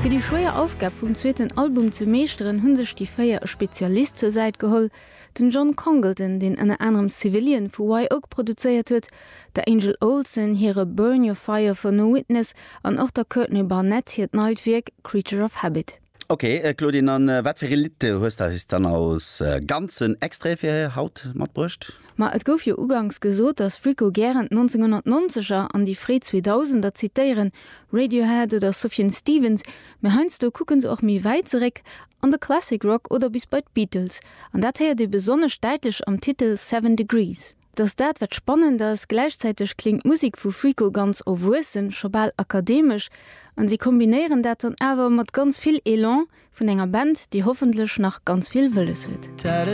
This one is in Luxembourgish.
Fir déi schwéier Aufgab vum zweeten Album ze meeschteren, hu sech déi 4 e Spezialist zur Säit geholl, den John Congleton, deen ënner anerem Civilian vu Wye Oak produzéiert huet, der Angel Olsen hire Burn Your Fire For No Witness an och der Courtney Barnett hiert neit Wierk Creature of Habit. Ok Claudine, an wat fir ee Lidd hues de eis dann als ganzen Extrait fir haut matbruecht? Ma et gouf jo uganks gesot, dass Friko gären d'Nonzénghonnertnonzeger an déi fréi Zweedausender zitéieren, Radiohead oder Sufjan Stevens, mä heiansdo kucke se och méi wäit zeréck, an de Classic Rock oder bis bei d'Beatles. An dat héiert ee besonnesch däitlech am Titel Seven Degrees. Et ass dat, wat spannend ass, gläichzäiteg kléngt d'Musek vu Friko ganz erwuessen, scho bal akademesch, an si kombinéieren dat dann awer mat ganz vill Elan vun enger Band, déi hoffentlech nach ganz vill wëlles huet.